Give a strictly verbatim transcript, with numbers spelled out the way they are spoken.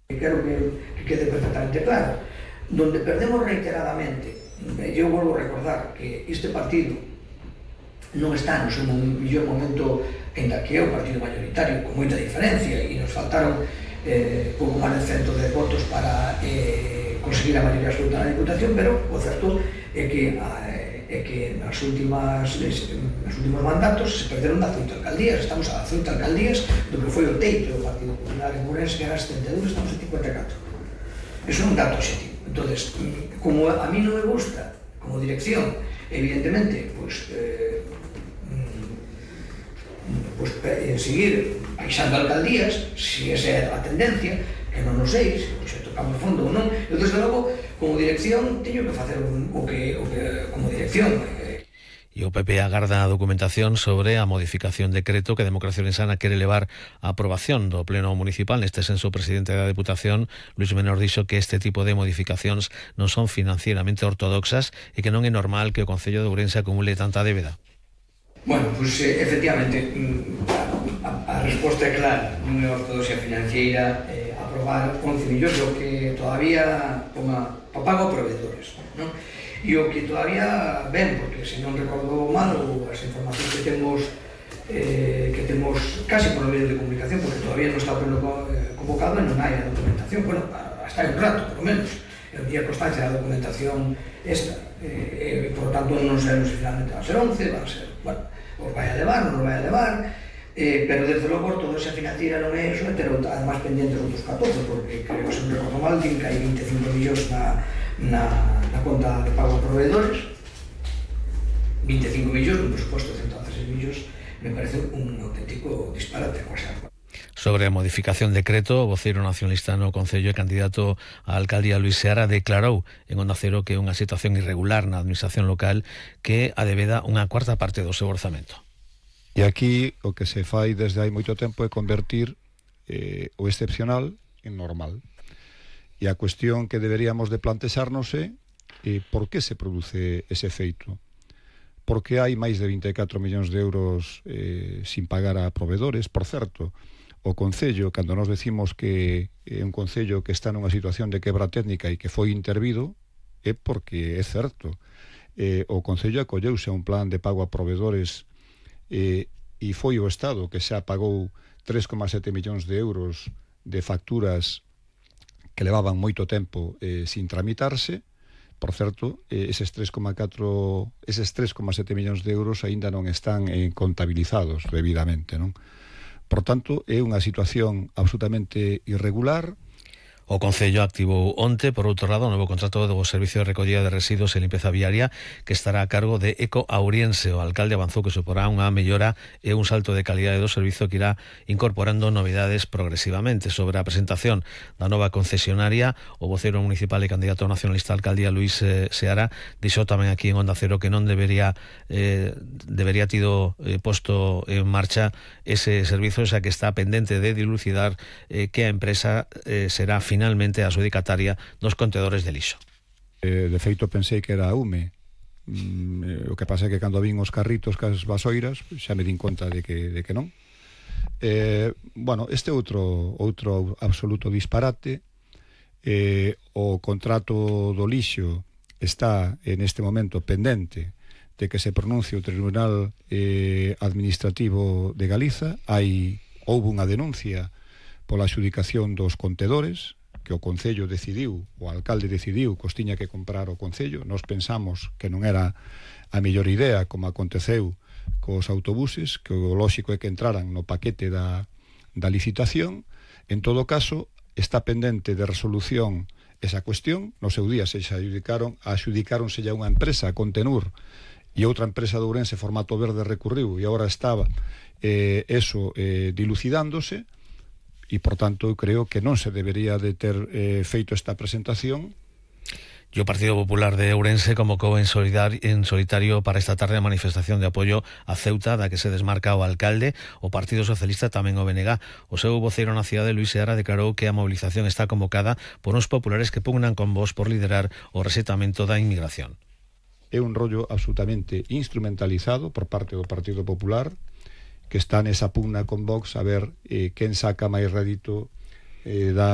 Quero que, que quede perfectamente claro. Donde perdemos reiteradamente, eu volvo a recordar que este partido non está no seu mellor momento, ainda que é o partido mayoritario, con moita diferencia, e nos faltaron eh, pouco máis de cento de votos para eh, conseguir a maioría absoluta na Diputación, pero o certo é que é que nas últimas nos últimos mandatos se perderon dezoito alcaldías. Estamos a dezoito alcaldías do que foi o teito do Partido Popular en Ourense, que era setenta e dous, estamos a cincuenta e catro. Eso é un dato objetivo. Entonces, como a mí non me gusta como dirección, evidentemente, pues, eh, pues, eh, seguir baixando alcaldías, si esa é a tendencia, que non o sei, se pues, tocamos fondo ou non. Eu, desde logo, como dirección, teño que facer un, o, que, o que, como dirección, eh, E o P P agarda a documentación sobre a modificación de decreto que Democracia Ourensana quere levar a aprobación do Pleno Municipal. Neste senso, o presidente da Deputación, Luis Menor, dixo que este tipo de modificacións non son financieramente ortodoxas e que non é normal que o Concello de Ourense acumule tanta débeda. Bueno, pues eh, efectivamente, a, a resposta é clara. Non é ortodoxia financiera eh, aprobar once millóns, o que todavía ponga pago a proveedores, non? E o que todavía ven, porque se non recordo mal, as informacións que temos eh, que temos casi por medio de comunicación, porque todavía non está o pleno convocado e non hai a documentación, bueno, hasta hai un rato, por lo menos, eu día constancia da documentación esta, eh, e, por lo tanto, non sabemos se finalmente van a ser once, van a ser, bueno, os vai a levar, non os vai a levar, eh, pero desde logo toda esa financiera non é iso, pero además pendientes outros catorce, porque creo que se non recordo mal, din que hai vinte e cinco millóns na Na, na conta de pago a proveedores, vinte e cinco millóns, un presuposto de ciento once millóns, me parece un auténtico disparate. Sobre a modificación de decreto, o voceiro nacionalista no Concello e candidato á alcaldía Luís Seara declarou en Onda Cero que é unha situación irregular na administración local que adebeda unha cuarta parte do seu orzamento. E aquí o que se fai desde hai moito tempo é convertir eh, o excepcional en normal. E a cuestión que deberíamos de plantexarnos é eh, por que se produce ese feito. Por que hai máis de vinte e catro millóns de euros eh, sin pagar a proveedores? Por certo, o Concello, cando nos decimos que é un Concello que está nunha situación de quebra técnica e que foi intervido, é porque é certo. Eh, o Concello acolleuse a un plan de pago a proveedores eh, e foi o Estado que xa pagou tres coma sete millóns de euros de facturas que levaban moito tempo eh, sin tramitarse. Por certo, eh, eses tres coma catro, eses tres coma sete millóns de euros aínda non están eh, contabilizados debidamente, non? Por tanto, é unha situación absolutamente irregular. O Concello activou onte, por outro lado, o novo contrato do Servicio de Recollida de Residuos e Limpeza Viaria que estará a cargo de Eco Auriense. O alcalde avanzou que suporá unha mellora e un salto de calidade do servizo que irá incorporando novidades progresivamente. Sobre a presentación da nova concesionaria, o voceiro municipal e candidato nacionalista a alcaldía Luís eh, Seara dixo tamén aquí en Onda Cero que non debería eh, debería tido eh, posto en marcha ese servizo, xa que está pendente de dilucidar eh, que a empresa eh, será finalmente finalmente a adjudicataria dos contedores de lixo. Eh, de feito, pensei que era a U M E. Mm, eh, o que pasa é que cando vin os carritos cas vasoiras, xa me din conta de que, de que non. Eh, bueno, este outro outro absoluto disparate. Eh, o contrato do lixo está en este momento pendente de que se pronuncie o Tribunal eh, Administrativo de Galiza. Hai, houve unha denuncia pola adjudicación dos contedores, que o Concello decidiu, o alcalde decidiu que os tiña que comprar o Concello. Nos pensamos que non era a mellor idea, como aconteceu cos autobuses, que o lóxico é que entraran no paquete da, da licitación. En todo caso, está pendente de resolución esa cuestión. No seu día se adjudicaron, adjudicáronselle a unha empresa, a Contenur, e outra empresa de Ourense, Formato Verde, recurriu, e agora estaba eh, eso eh, dilucidándose. E, por tanto, creo que non se debería de ter eh, feito esta presentación. E o Partido Popular de Ourense convocou en, en solitario para esta tarde a manifestación de apoio a Ceuta, da que se desmarca o alcalde. O Partido Socialista tamén o B N G. O seu voceiro na cidade, Luís Seara, declarou que a movilización está convocada por uns populares que pugnan con vos por liderar o resetamento da inmigración. É un rollo absolutamente instrumentalizado por parte do Partido Popular, que está nesa pugna con Vox a ver eh, quen saca máis rédito eh, da